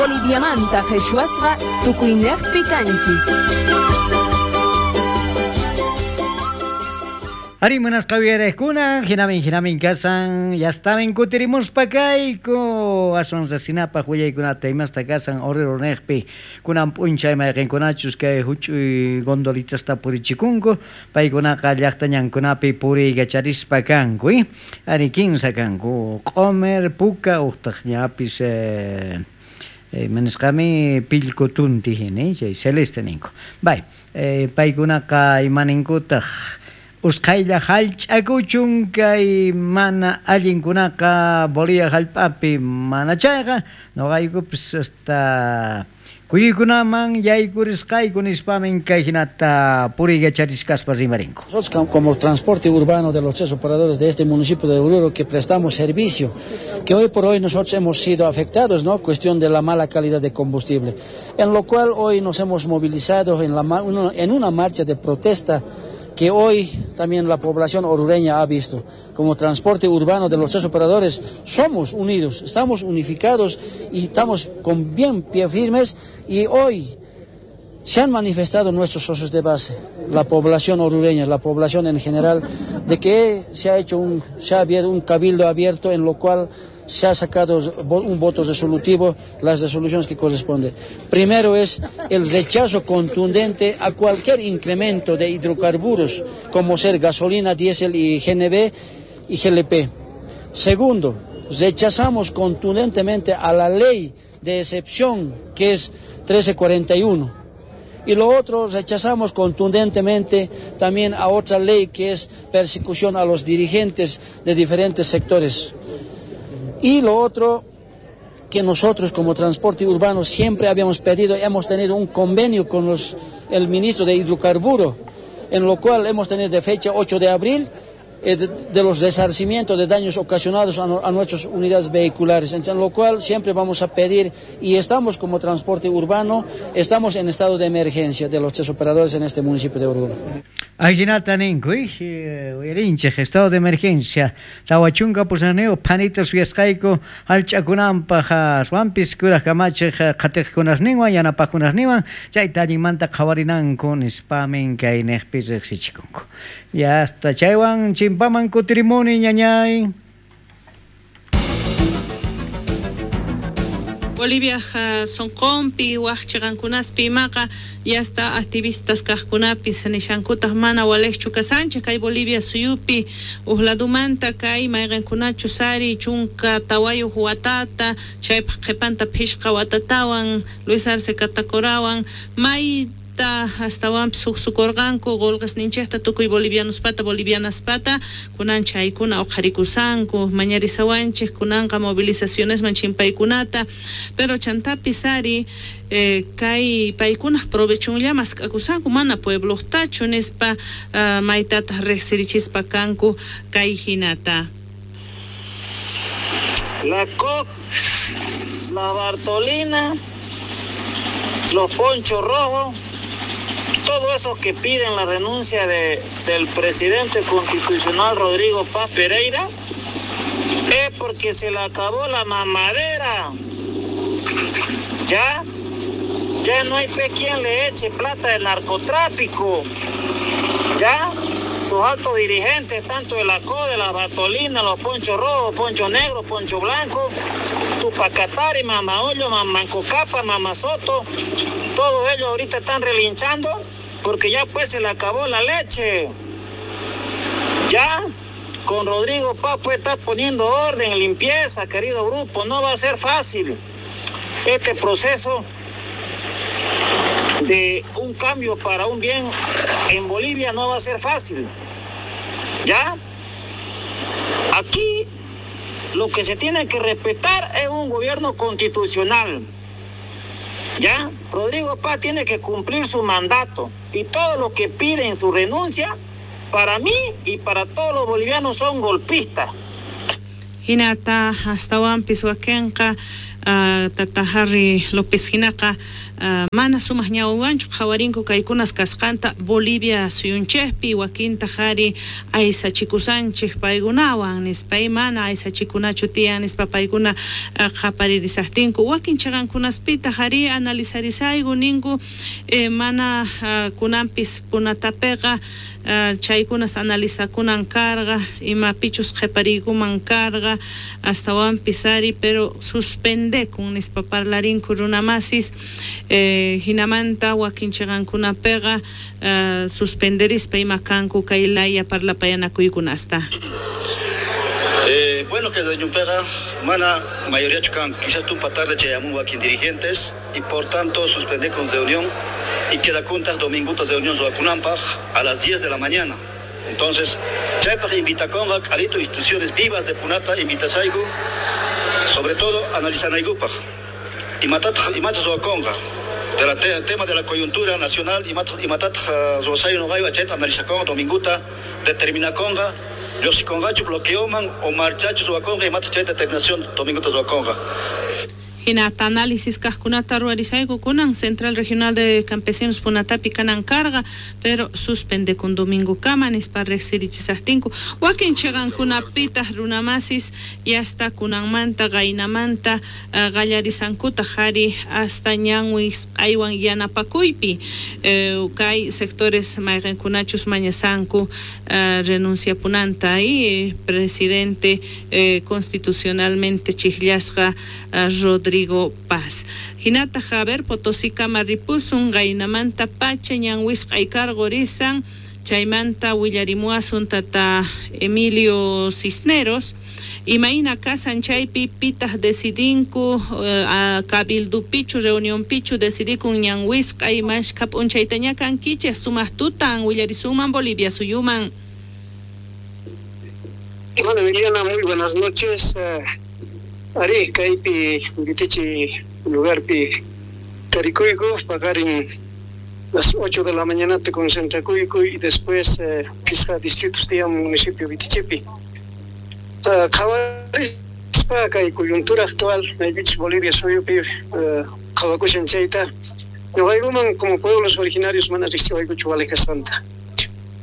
Boliviamanta qheshwasqa tukuynejpi kanchis. Ari munasqa uyarejkuna, jinamin jinamin kasan, yastamin kutirimuspa kayku, aswan riqsinapaq willaykunata imasta kasan Oruro neqpi, kunan p'unchay mayqinkunachus kay huch'uy gondolitasta purichikunku, paykunaqa llaqta ñankunapi puriykacharispa kanku, ari kinsa kanku, q'omer, puka, uqtaq ñapis manisqami pillku tunti hina, chay celeste ninku. Bay, paykunaqa imaninkutaq usqhaylla hallch'akuchun kay mana allinkunaqa Bolivia hallp'api mana chayqa nuqaykupis hasta kuyuykunaman yaykurisqayku nispamin kay hinata puriykacharisqaspa rimarinku. Nosotros como transporte urbano de los tres operadores de este municipio de Oruro que prestamos servicio, que hoy por hoy nosotros hemos sido afectados, ¿no? Cuestión de la mala calidad de combustible, en lo cual hoy nos hemos movilizado en una marcha de protesta que hoy también la población orureña ha visto. Como transporte urbano de los tres operadores somos unidos, estamos unificados y estamos con bien pie firmes, y hoy se han manifestado nuestros socios de base, la población orureña, la población en general, de que se ha hecho se ha abierto un cabildo abierto en lo cual se ha sacado un voto resolutivo, las resoluciones que corresponden. Primero es el rechazo contundente a cualquier incremento de hidrocarburos, como ser gasolina, diésel y GNB y GLP. Segundo, rechazamos contundentemente a la ley de excepción, que es 1341. Y lo otro, rechazamos contundentemente también a otra ley que es persecución a los dirigentes de diferentes sectores. Y lo otro, que nosotros como transporte urbano siempre habíamos pedido, hemos tenido un convenio con el ministro de Hidrocarburo, en lo cual hemos tenido de fecha 8 de abril de los resarcimientos de daños ocasionados a nuestras unidades vehiculares, en lo cual siempre vamos a pedir, y estamos como transporte urbano, estamos en estado de emergencia de los tres operadores en este municipio de Oruro. Ajinata ninku, uyarinchej, estado de emergencia, tawachunka pusaneo, panitas suyasqayku, hallch'akunanpaj, aswanpis kuraj kamachej qhatiqkunasninwan, yanapaqkunasninwan, chayta allinmanta qhawarinanku nispamin kay neqpi riqsichikunku. Ya hasta chaywan chimpaman kutirimuni ñañay. Bolivia sonqonpi waj chiqankunaspi imaqa yasta activistas kaqkunapis nishankutaq mana walejchu kasanchej kay Bolivia suyupi uqladumanta kay mayqinkunachus ari chunka tawayuq watata chaypaq qhipanta phishqa watatawan Luis Arce Catacorawan may astawanpis suqsukurqanku qullqisninchikta tukuy bolivianospata bolivianaspata kunan chaykuna uqharikusanku mañarisawanchik kunanqa movilizacionesman chimpaykunata pero chantapis ari kay paykunaq provechunlla mask'akusanku mana puebloqtachu nispa maytataq riqsirichispa kanku kay hinata. La COC, la Bartolina, los Ponchos Rojos, todo eso que piden la renuncia del presidente constitucional Rodrigo Paz Pereira, es porque se le acabó la mamadera. Ya no hay pe quien le eche plata del narcotráfico. Ya sus altos dirigentes, tanto de la CODE, de la Bartolina, los Ponchos Rojos, Poncho Negro, Poncho Blanco, Tupac Katari, Mama Hoyo, Manco Capa, Mama Soto, todos ellos ahorita están relinchando porque ya pues se le acabó la leche. Ya con Rodrigo Paz pues está poniendo orden, limpieza, querido grupo, no va a ser fácil este proceso de un cambio para un bien en Bolivia, no va a ser fácil. ¿Ya? Aquí lo que se tiene que respetar es un gobierno constitucional. ¿Ya? Rodrigo Paz tiene que cumplir su mandato y todo lo que piden su renuncia, para mí y para todos los bolivianos son golpistas. Hinata astawanpis wakinqa Tata Harry López hinaqa mana sumaq ñawiwanchu qhawarinku kaykunas kasqanta Bolivia suyunchikpi wakintaq ari aysachikusanchik paykunawan nispa mana aysachikunachu tiyan nispa paykuna qhaparirisaqtinku wakin chiqankunaspitaq ari analizarisayku ninku mana kunanpis punatapiqa chaykunas analizakunan karqa imapichus qhipariykuman karqa astawanpis ari pero suspendekun nispa parlarinku runamasis hinamanta wakin chiqankunapiqa suspenderispa ima kanku kay laya parlapayanakuykunasta. Bueno, que reunión mana mayoría chucan, quizás tumpa tarde chayamun wakin dirigentes y por tanto suspende con reunión y queda juntas domingutas reunión Zoacunampaj a las 10 de la mañana. Entonces, chaypaj invita con alito instituciones vivas de Punata, invita saigu, sobre todo analizanaigupaj y matat y matat Zoaconga del tema de la coyuntura nacional y matat Zoasayo no chet analiza con dominguta determina conga los congacho bloqueoman o marchacho Zoaconga y matat chet determinación dominguta Zoaconga. Hinata análisis kajkunata ruwarisayku kunan Central Regional de Campesinos Punatapi kanan carga pero suspende con domingo kama nispa riqsirichisaqtinku wakin chiqankunapitaq runamasis yasta kunanmanta qaynamanta qallarisankutaq ari hasta ñanwisq'aywan yanapakuypi kay sectores mayqinkunachus mañasanku renunciapunanta y presidente constitucionalmente chijllasqa Rodrigo Paz. Hinata Javier Potosí kama ripusun qaynamanta pacha ñanwisq'ay karqurisan chaymanta willarimuwasun tata Emilio Cisneros imayna kasan chaypi pitaq decidinku cabildupichu reunionpichu decidikun ñanwisq'ay mashkha p'unchaytaña kankichej sumaq tutan willarisunman Bolivia suyuman. Bueno, Liliana, muy buenas noches. Ari, kaypi Vitichi lugarpi tarikuyku, paqarin las 8 de la mañana te concentrakuyku y después pisqa distritos tiyan municipio Vitichipi. Qhawarispa kay coyuntura actual maypichus Bolivia suyupi qhawakushan chayta ñuqaykuman como pueblos originarios mana riqsiwaykuchu walej kasqanta.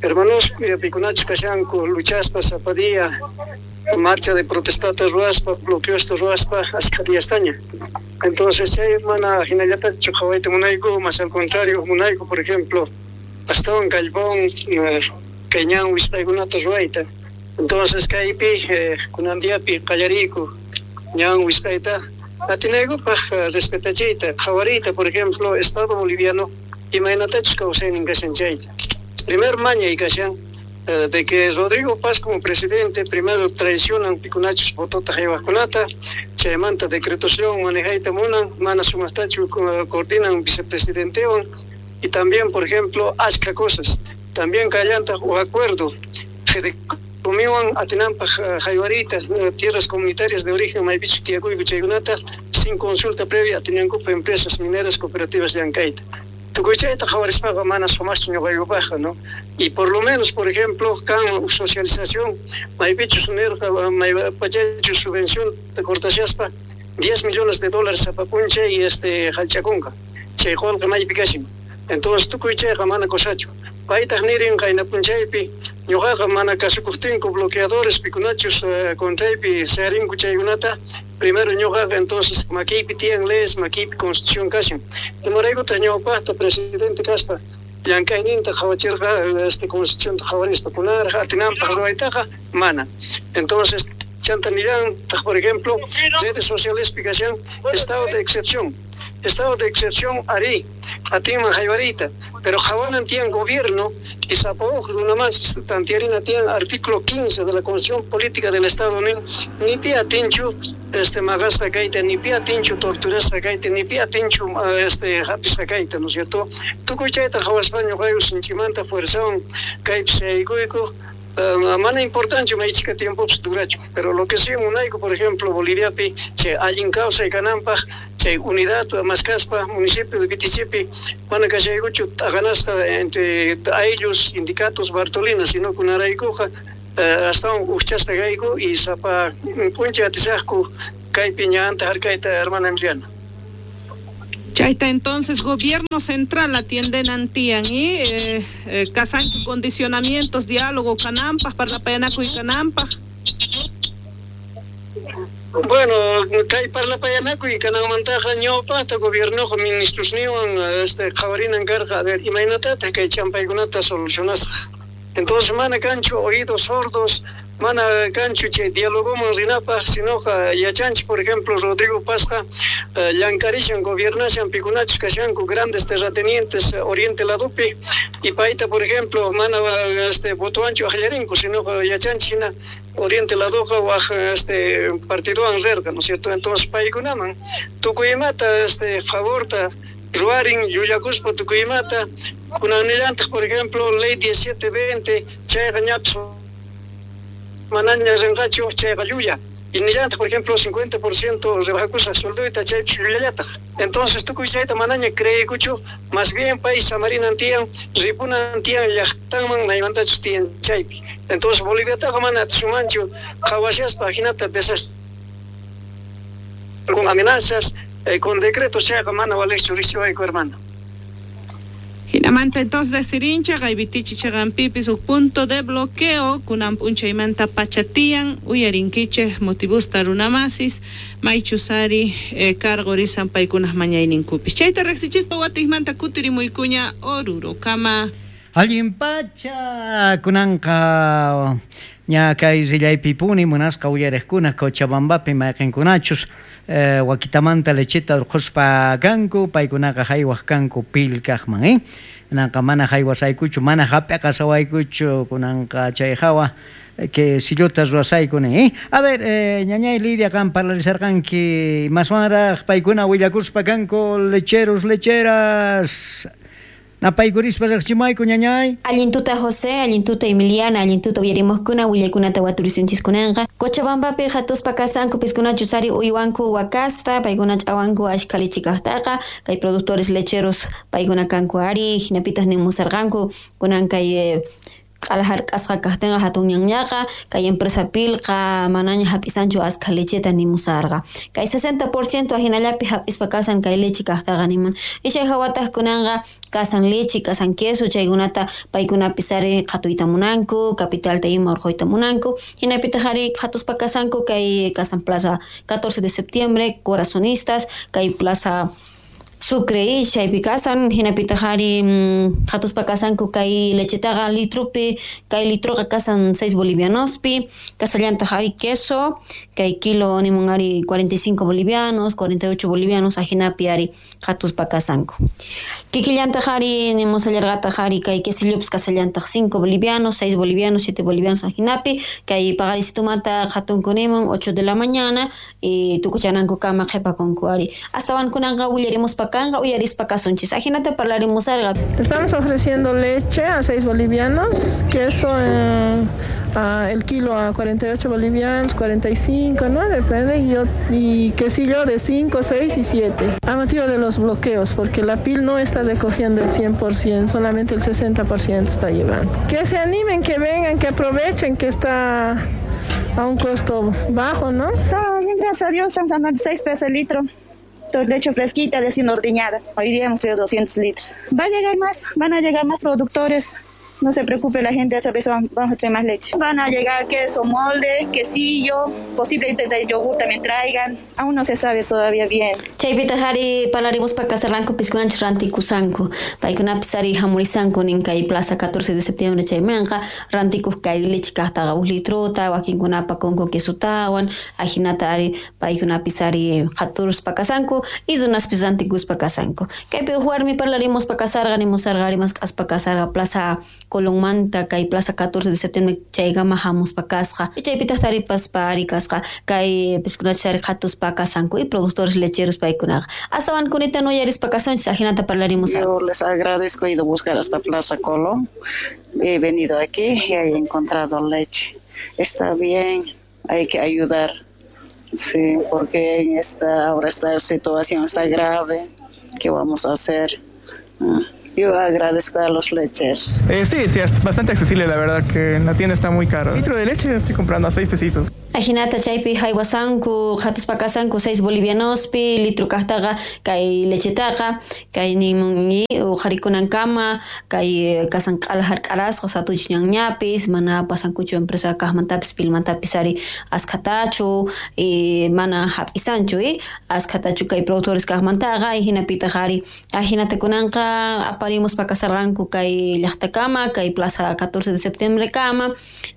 Hermanos pikunachus kashanku luchaspa sapa día marcha de protestata ruaspa, bloqueosta ruaspa, ashkha diastaña. Entonces, chay mana hinallatachu qhawayta munayku, más al contrario, munayku, por ejemplo, astawan kallpawan kay ñan wisq'aykunata ruwayta. Entonces, kaypi kunan diapi qallariyku ñan wisq'ayta atinaykupaq respetachiyta, qhawariyta, por ejemplo, Estado boliviano imaynatachus kawsaynin kashan chayta. Primer mañay kashan de que Rodrigo Paz como presidente primero traicionan pikunachus votota haywaqkunata, chaymanta decretoción manejayta munan, mana sumaqtachu coordinan vicepresidentewan y también, por ejemplo, ashka cosas. También kallanta u acuerdo Fedecomiwan atinanpaq haywarita tierras comunitarias de origen maypichus tiyakuyku chaykunata sin consulta previa atinankupa empresas mineras cooperativas llankayta. Tukuy chayta qhawarispaqa mana sumaqchu ñuqaykupaqqa, ¿no? Y por lo menos, por ejemplo, kan socialización, maypichus nirqa maypachachus subvención cortashaspa 10 millones de dólares sapa p'unchay y hallch'akunqa. Chay qullqi maypi kashan. Entonces tukuy chayqa mana cosachu. Paytaq nirin qayna p'unchaypi ñuqaqa mana kasukuqtinku bloqueadores pikunachus contraypi sayarinku chaykunata primero ñuqaqa entonces makiypi tiyan leyes makiypi constitución kashan. Imaraykutaq ñawpaqta presidente kaspa llank'ayninta qhawachirqa constitucionta qhawarispa kunarqa atinanpaq ruwaytaqa mana. Entonces chanta nillantaq por ejemplo redes socialespi kashan estado de excepción. Estado de excepción ari atinman haywarita, pero qhawanan tiyan gobierno y sapa uj runamas tantiarina tiyan artículo 15 de la Constitución Política del Estado ni pi atinchu maqasqa kayta, ni pi atinchu torturasqa kayta, ni pi atinchu hapisqa kayta, ¿no es cierto? Tukuy chayta qhawaspa ñuqayku sinchimanta fuerzawan kaypi sayaykuyku. Mana importante maychika tiempopis durachu, pero lo que sí munayku, por ejemplo, Boliviapi chay allin kawsay kananpaq, chay unidad maskaspa municipio de Vitichipi mana kashaykuchu t'aqanasqa entre ayllus, sindicatos, Bartolinas, sino kunaraykuqa astawan ujchasqa kayku y sapa p'unchay atisaqku Kaypi ñanta harkayta, hermana Emiliana. Chayta entonces gobierno central atienden antian y casancho condicionamientos, diálogo kananpaj, parlapayanakuy kananpaj. Bueno, kay parlapayanakuy kananmantaqa ñawpaqta gobiernoqa ministrosniwan qhawarinan karqa, a ver, imaynatataq kay champaykunata solucionasqa. Entonces mana kanchu oídos sordos, mana kanchu chay dialogoman rinapaq, sinoqa yachanchik, por ejemplo, Rodrigo Pazqa llank'arishan, gobernashan pikunachus kashanku grandes terratenientes oriente ladopi, y payta, por ejemplo, mana votowanchu aqllarinku, sinoqa yachanchik hina oriente ladoqa waj partidowan rirqa, ¿no es cierto? Entonces paykunaman tukuy imata favorta ruwarin, llullakuspa tukuy imata. Kunanillantaq, por ejemplo, ley 1720, chayqa ñapis manaña rinqachu, chayqa llulla. Y nillantaq, por ejemplo, 50% rebajakusqa suelduyta, chaypis llullallataq. Entonces tukuy chayta manaña creeykuchu, más bien pay samarinan tiyan, ripunan tiyan llaqtanman maymantachus tiyan chaypi. Entonces Boliviataqa mana atisumanchu qhawashaspa jinata desastre con amenazas, con decretos, chayqa mana valejchu riqsiwayku, hermano. Jinamanta entonces sirincha qaybitichi chaqanpipis huk punto de bloqueo kunan p'unchaymanta pachatiyan uyarinkichej motivusta runamasis maychusari cargorisan paykunaj mañayninkupis. Chayta riqsichispa watijmanta kutirimuykuña Orurokama. Allin pacha kunanqa ña kay rillaypipuni munasqa uyariqkuna Cochabambapi mayqinkunachus wakitamanta lecheta urquspa kanku, paykunaqa haywaq kanku pilkaqman, Kunanqa mana haywasaykuchu, mana hap'iqasawaykuchu, kunanqa chay hawa que sillota ruwasayku nin, A ver, ñañay Lidia, qan parlarisarqanki maswanraq paykuna willakuspa kanku lecheros, lecheras. Napaykurispa riqchimayku, ñañay. Allintuta José, allintuta Emiliana, allintuta uyarimuqkuna willaykunata waturisunchis-kunanqa. Cochabambapi hatuspa kasanku piskunachus ari uywanku wakasta, paykuna ch'awanku ashkha lichikaqtaqa, kay productores lecheros paykuna kanku ari, hinapitaq nimusarqanku kunan kay q'ala hark'asqa kaqtinqa hatun ñanñaqa, kay empresa pilqa manaña hap'isanchu askha lecheta nimusarqa. Kay 60% ajinallapi hap'ispa kasan kay leche kaqtaqa nimun. Ishay hawataq kunanqa kasan leche, kasan queso, chaykunata paykunapis ari qhatuyta munanku, capitalta ima urquyta munanku. Hinapitaq ari qhatuspa kasanku kay kasan plaza 14 de septiembre, corazonistas, kay plaza Sucre chaypi kasan, hinapitaq ari qhatuspa kasanku kay lechetaqa litropi, kay litroqa kasan 6 bolivianospi, kasallantaq ari queso, kay kilo nimun ari 45 bolivianos, 48 bolivianos, ajinapi ari qhatuspa kasanku. Kikillantaq ari nimusallarqataq ari kay quesillopis kasallantaq 5 bolivianos, 6 bolivianos, 7 bolivianos ajinapi, kay paqarisitumanta qhatunku nimun 8 de la mañana y tukuchananku kama qhipakunku ari. Astawan kunanqa willarimuspa kanqa uyarispa kasunchis. Ajinata parlarimusarqa. Estamos ofreciendo leche a 6 bolivianos, queso el kilo a 48 bolivianos, 45, ¿no? Depende, y quesillo de 5, 6 y 7. A motivo de los bloqueos, porque la PIL no está recogiendo el 100%, solamente el 60% está llevando. Que se animen, que vengan, que aprovechen que está a un costo bajo, ¿no? Todo bien, gracias a Dios, estamos dando 6 pesos el litro. Leche fresquita, recién ordeñada. Hoy día hemos traído 200 litros. Va a llegar más, van a llegar más productores. No se preocupe la gente, esa vez vamos a traer más leche. Van a llegar queso molde, quesillo, posiblemente yogur también traigan. Aún no se sabe todavía bien. Chaypitaq ari parlarimuspa kasarqanku piskunanchus rantikusanku. Paykunapis ari hamurisanku nin kay plaza 14 de septiembre chaymanqa rantikuq kay leche kaqtaqa huk litrota, wakinkunapa kunku quesotawan, ajinata ari paykunapis ari qhaturuspa kasanku y runaspis rantikuspa kasanku. Kaypi huk warmi parlarimuspa kasarqa nimusarqa ari mask'aspa kasarqa plaza Colonmanta kay plaza 14 de septiembre chaykama hamuspa kasqa. Chaypitaq taripaspa ari kasqa kay piskunachus ari qhatuspa kasanku y productores lecheros paykunaqa. Astawan kunita uyarispa kasunchis ajinata parlarimus. Yo les agradezco, he ido a buscar hasta Plaza Colón. He venido aquí y he encontrado leche. Está bien, hay que ayudar. Sí, porque en esta ahora esta situación está grave. ¿Qué vamos a hacer? Yo agradezco a los lecheros. Sí, es bastante accesible, la verdad, que en la tienda está muy caro. El litro de leche estoy comprando a 6 pesitos. Ajinata chaypi haywasanku qhatuspa kasanku 6 bolivianospi litro kaqtaqa kay lechetaqa kay nimun uqharikunankama kay kasan q'ala hark'arasqa satuchis ñanñapis mana pasankuchu empresa kaqmantapis pilmantapis ari askhatachu mana hap'isanchu askhatachu kay productores kaqmantaqa hinapitaq ari ajinata kunanqa aparimuspa kasarqanku kay llaqtakama kay plaza 14 de septiembre kama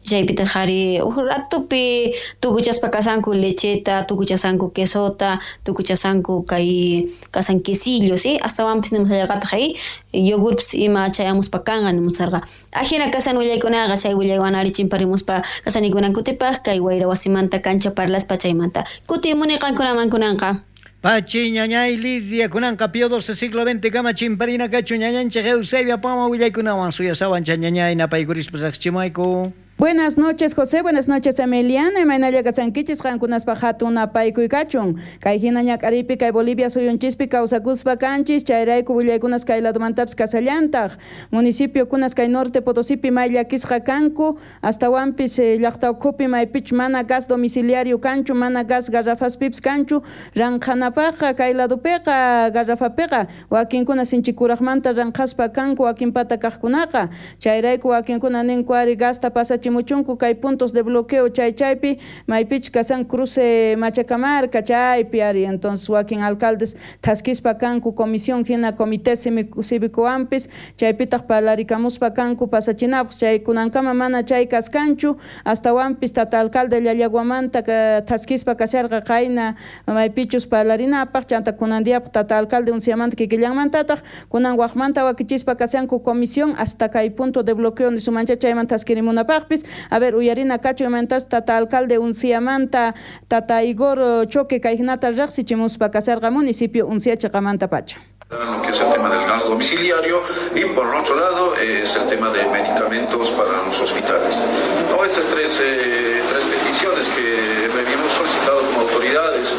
chaypitaq ari uj ratupi tukuchaspa kasanku lecheta tukuchasanku quesota tukuchasanku kay kasan quesillos astawanpis nimusallarqataq yogurpis ima chayamuspa kanqa nimusarqa ajina kasan willaykunaqa chay willaywan ari chimparimuspa kasanikunankutipaq kay wayra wasimanta kancha parlaspa chaymanta kutimuni qankunaman kunanqa. Pachi ñañay Lidia kunanqa Pío XII siglo XX kama chimparina kachu ñañanchik Eusebia Poma willaykunawan suyasawan chay ñañay napaykurispa riqsichimayku. Buenas noches, José. Buenas noches, Emiliana. Imaynalla kasankichis qankunaspa hatun napaykuy kachun. Kay hina ñak'aripi kay Bolivia suyunchispi kawsakuspa kanchis chayrayku willaykunas kay ladomantapis kasallantaq. Municipio kunas kay Norte Potosipi may llakisqa kanku astawanpis llaqta ukhupi maypichu mana gas domiciliario kanchu mana gas garrafaspipis kanchu ranqhanapaqqa kay ladopiqa garrafapiqa wakinkuna sinchikuraqmanta ranqhaspa kanku wakinpata kaqkunaqa chayrayku wakinkuna ninku ari gasta pasachi muchunku kay puntos de bloqueo chay chaypi maypichu kasan cruce Machacamarca chaypi ari entonces wakin alcaldes thaskispa kanku comisión hina comité cívico-ampis chaypitaq parlarikamuspa kanku pasachinapaq chay kunankama mana chay kaskanchu astawanpis tata alcalde Llallaguamanta thaskispa kasharqa qayna maypichus parlarinapaq chanta kunan diapaq tata alcalde Unciamanta kikillanmantataq kunan waqmanta wakichispa kasanku comisión hasta kay punto de bloqueo nisumancha chayman thaskirimunapaqpis. A ver, uyarina kachu imantas tata alcalde Unciamanta tata Igor Choque kay hinata riqsichimuspa kasarqa municipio Uncia chiqamanta pacha. Lo que es el tema del gas domiciliario y por otro lado es el tema de medicamentos para los hospitales. No, estas tres peticiones que habíamos solicitado como autoridades,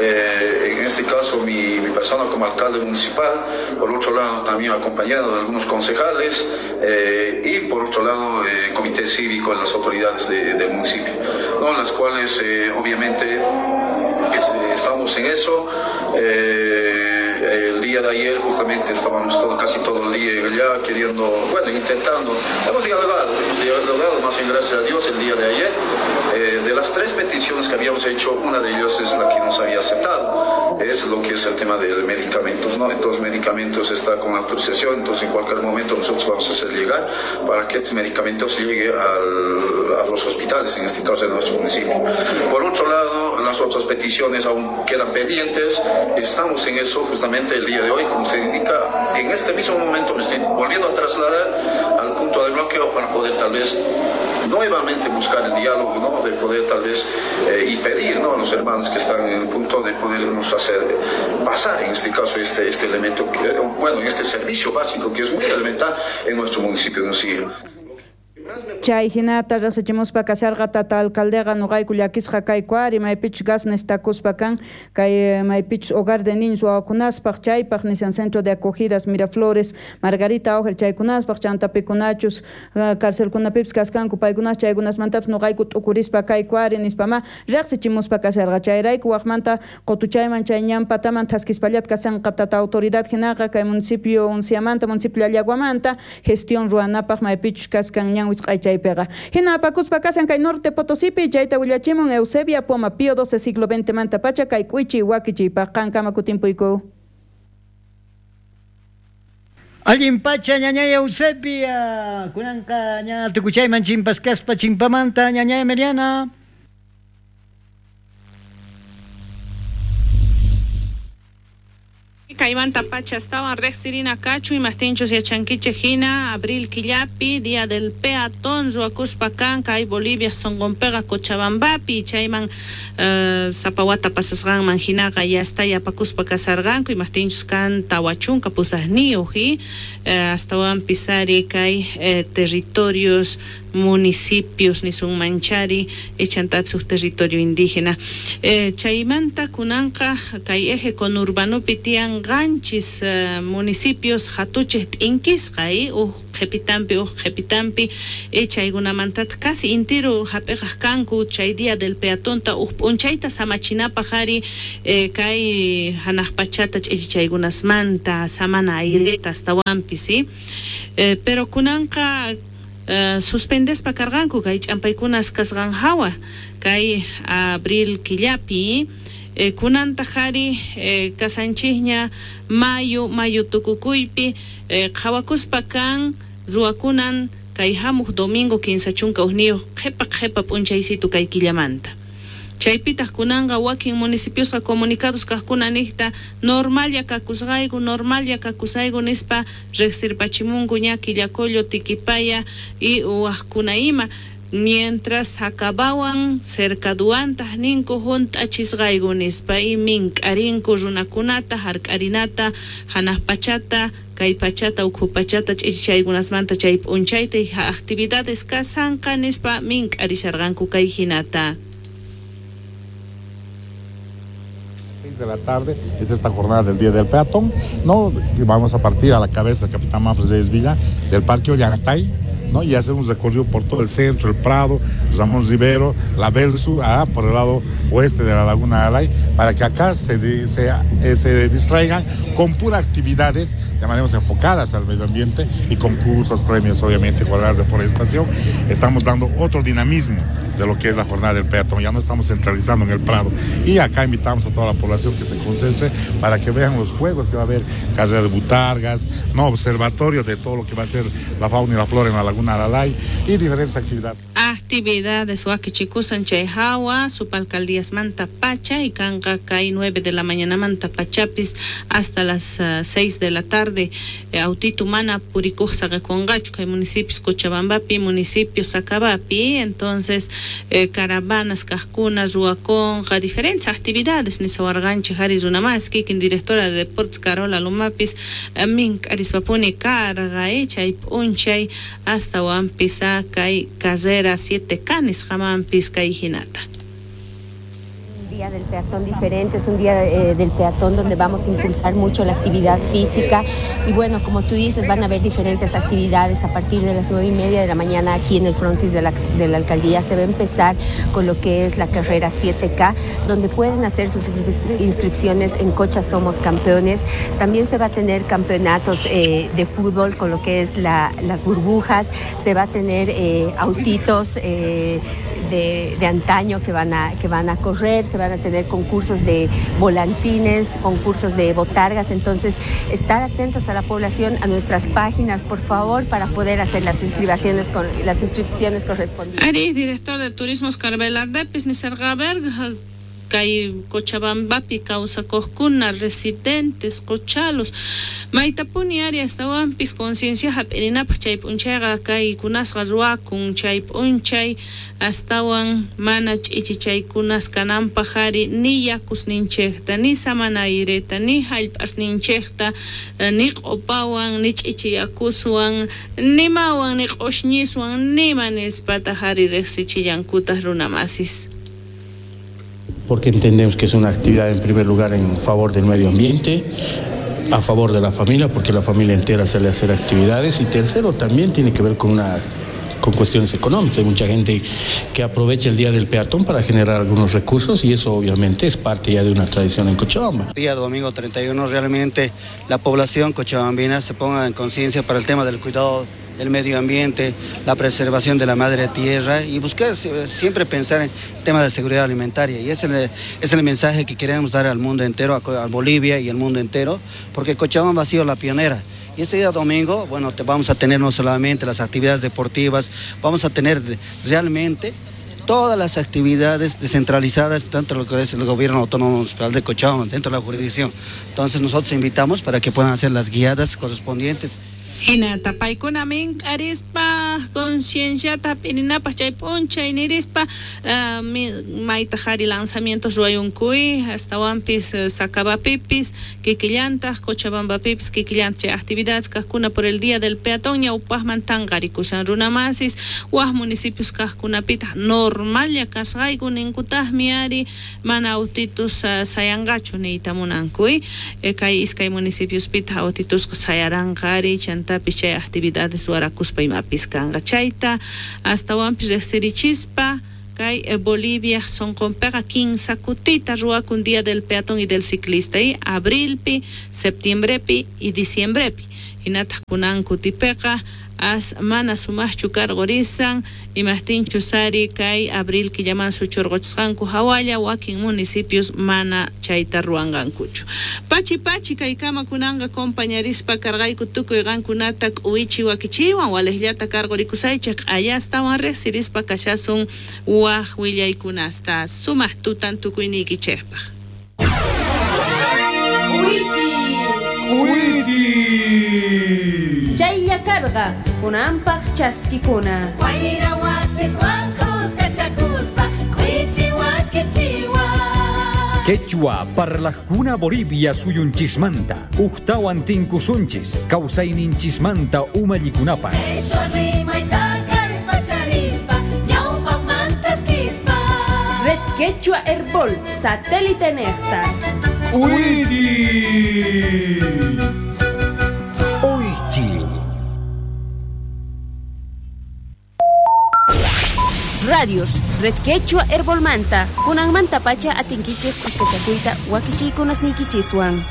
en este caso mi persona como alcalde municipal, por otro lado también acompañado de algunos concejales y por otro lado comité cívico en las autoridades del municipio, ¿no? Las cuales obviamente estamos en eso. El día de ayer justamente estábamos casi todo el día allá queriendo, bueno, intentando, hemos dialogado más bien gracias a Dios el día de ayer. De las tres peticiones que habíamos hecho, una de ellas es la que nos había aceptado, es lo que es el tema de medicamentos, ¿no? Entonces medicamentos está con autorización, entonces en cualquier momento nosotros vamos a hacer llegar para que estos medicamentos lleguen a los hospitales, en este caso de nuestro municipio. Por otro lado, las otras peticiones aún quedan pendientes, estamos en eso justamente el día de hoy, como se indica, en este mismo momento me estoy volviendo a trasladar al punto de bloqueo para poder tal vez nuevamente buscar el diálogo, ¿no? De poder tal vez y pedir, ¿no? A los hermanos que están en el punto de podernos hacer pasar en este caso este elemento, que, bueno, este servicio básico que es muy elemental en nuestro municipio de Uncía. Chay hinata riqsichimuspa kasharqa tata alcaldeqa nuqayku llakisqa kayku ari maypichus gas nestakuspa kan kay maypichus hogar de niños wawakunaspaq chaypaq nisan centro de acogidas Miraflores Margarita Ojer chaykunaspaq chanta pikunachus carcelkunapipis kaskanku paykunas chaykunasmantapis nuqayku t'ukurispa kayku ari nispama riqsichimuspa kasharqa chayrayku waqmanta qutuchayman chay ñanpataman thaskispallat kasanqa tata autoridad hinaqa kay municipio Unciamanta municipio Llallaguamanta gestión ruwanapaq maypichus kaskan ñan chaypiqa. Hina apakuspa kasan kay Norte Potosipi chayta willachimun Eusebia Poma Pío XII siglo XX manta pacha kay k'uychi wakichiypaq qankama kutimpuyku. Allin pacha ñañay Eusebia kunanqa ña tukuchayman chimpas kaspa chimpamanta ñañay Emiliana. Kaymanta pacha estaban riqsirina kachu imaqtinchus yachankichik hina abril killapi día del peatón ruwakuspa kan kay Bolivia sonqonpiqa Cochabambapi chayman sapawata pasasqanman hinaqa yasta yapakuspa kasarqanku imaqtinchus kan 48 y astawanpis ari kay territorios municipios nisunmanchari chantapis huk territorio indígena. Chaymanta kunanqa kay eje conurbanopi tiyan qanchis municipios hatuchej t'inkisqa huk qhipitampi chaykunamantataq casi intiru hap'iqaq kanku chay día del peatonta huk p'unchayta samachinapaq ari kay hanaq pachata ch'ichichaykunasmanta samana aireta astawanpis pero kunanqa suspendespa karqanku kay ch'ampaykunas kasqan hawa kay abril killapi kunantaq ari kasanchikña mayo tukukuypi qhawakuspa kan ruwakunan kay hamuq domingo 31 qhipa p'unchaysitu kay killamanta. Chaypitaq kunanqa wakin municipiosqa comunicados kaqkuna niqta normalla kakusayku nispa riqsirpachimunku ña Quillacollo, Tiquipaya y waqkuna ima mientras acabawan cercaduantaq ninku hunt'achisqayku nispa y mink'arinku runakunata hark'arinata hanaq pachata kay pachata ukhu pachata ch'ichichaykunasmanta chay p'unchayta y actividades kasanqa nispa mink'arisharqanku kay hinata. De la tarde es esta jornada del Día del Peatón, ¿no? Vamos a partir a la cabeza del Capitán Manfred Reyes Villa del Parque Ollantay, ¿no? Y hacer un recorrido por todo el centro, el Prado, Ramón Rivero, la Belsu, por el lado oeste de la Laguna de Alay, para que acá se distraigan con puras actividades, llamaremos enfocadas al medio ambiente, y concursos, premios, obviamente, jornadas de forestación. Estamos dando otro dinamismo de lo que es la jornada del peatón, ya no estamos centralizando en el Prado, y acá invitamos a toda la población que se concentre para que vean los juegos que va a haber, carrera de butargas, no, observatorio de todo lo que va a ser la fauna y la flora en la Laguna Alalay y diferentes actividades. Actividades wakichikusan chay hawa, supalcaldías manta pacha y kanqa kay 9 de la mañana manta pachapis hasta las 6 de la tarde. Autitu mana purikuq saqakunqachu kay municipios Cochabambapi, municipios Sacabapi, entonces caravanas kaqkuna ruwakunqa diferentes actividades nisawarqanchik hari runamas kikin directora de deportes Carola Lumapis mink'arispapuni karqa chay p'unchay hasta wampis kay carrera 7K nisqamanpis kay hinata. Día del peatón diferente, es un día del peatón donde vamos a impulsar mucho la actividad física y bueno, como tú dices, van a haber diferentes actividades a partir de las 9:30 de la mañana aquí en el frontis de la alcaldía. Se va a empezar con lo que es la carrera 7K, donde pueden hacer sus inscripciones en Cocha Somos Campeones. También se va a tener campeonatos de fútbol con lo que es las burbujas, se va a tener autitos de antaño que van a correr, se van a tener concursos de volantines, concursos de botargas. Entonces, estar atentos a la población, a nuestras páginas, por favor, para poder hacer las inscripciones correspondientes. Ari, director de Turismo Oscar Velardepis, nisarqa kay Cochabambapi kawsakuqkuna residentes qochalos maytapuni ari astawanpis conciencia hap'irinapaq chay p'unchayqa kay kunasqa ruwakun chay p'unchay astawan mana ch'ichichaykunas kananpaq ari ni yakusninchikta ni samanayreta ni hallp'asninchikta ni q'upawan ni ch'ichiyakuswan nimawan ni q'ushñiswan nima nispataq ari riqsichillankutaq runamasis. Porque entendemos que es una actividad en primer lugar en favor del medio ambiente, a favor de la familia, porque la familia entera sale a hacer actividades, y tercero, también tiene que ver con cuestiones económicas. Hay mucha gente que aprovecha el Día del Peatón para generar algunos recursos y eso obviamente es parte ya de una tradición en Cochabamba. El día domingo 31 realmente la población cochabambina se ponga en conciencia para el tema del cuidado del medio ambiente, la preservación de la madre tierra y buscar siempre pensar en temas de seguridad alimentaria. Y ese es el mensaje que queremos dar al mundo entero, a Bolivia y al mundo entero, porque Cochabamba ha sido la pionera. Y este día domingo, bueno, vamos a tener no solamente las actividades deportivas, vamos a tener realmente todas las actividades descentralizadas dentro de lo que es el gobierno autónomo municipal de Cochabamba, dentro de la jurisdicción. Entonces nosotros invitamos para que puedan hacer las guiadas correspondientes. Hinata paykuna mink'arispa Concienciata hap'irinapaj chay p'unchay nirispa maytaj ari lanzamientos ruwayunkuy astawanpis Sacabapipis kikillantaj Cochabambapipis kikillantaj chay actividades kajkuna por el día del peatón ñawpajman tanqarikushan runamasis waj municipios kajkunapitaj normalla kasqayku ninkutajmi ari mana autitus sayanqachu niyta munankuy kay iskay municipiospitaj autitusqa sayaranqa ari chantapis chay actividades ruwarakuspa imapis kanqa chayta astawanpis riqsirichispa kay Bolivia sonqonpiqa kinsa kutita ruwakun día del peatón y del ciclista y abrilpi, septiembrepi y diciembrepi hinataq kunan kutipiqa as mana sumaqchu karqurisan imajtinchus ari kay abril killaman suchurquchisqanku hawalla wakin municipios mana chayta ruwanqankuchu. Pachi pachi kaykama kunanqa compañarispa karqayku tukuy qankunata k'uwichi wakichiwan waliqllata karqurikusaychik q'ayastawan riqsirispa kashasun waj willaykunasta sumaq tutan tukuyniykichikpaq. K'uwichi. K'uwichi. Chaylla karqa kunanpaq chaskikuna. Wayra wasiswan kuskachakuspa k'uwichi wakichiwan. Quechua parlajkuna Bolivia suyunchismanta ujtawan tinkusunchis kawsayninchismanta umallikunapaq. Qhishwa rimayta kallpacharispa ñawpaqmanta eskispa. Red Quechua Herbol satélite nejta. K'uwichi. K'uwichi. Radios Red Quechua Herbolmanta kunanmanta pacha atinkichej kuskachakuyta wakichiykunasniykichiswan.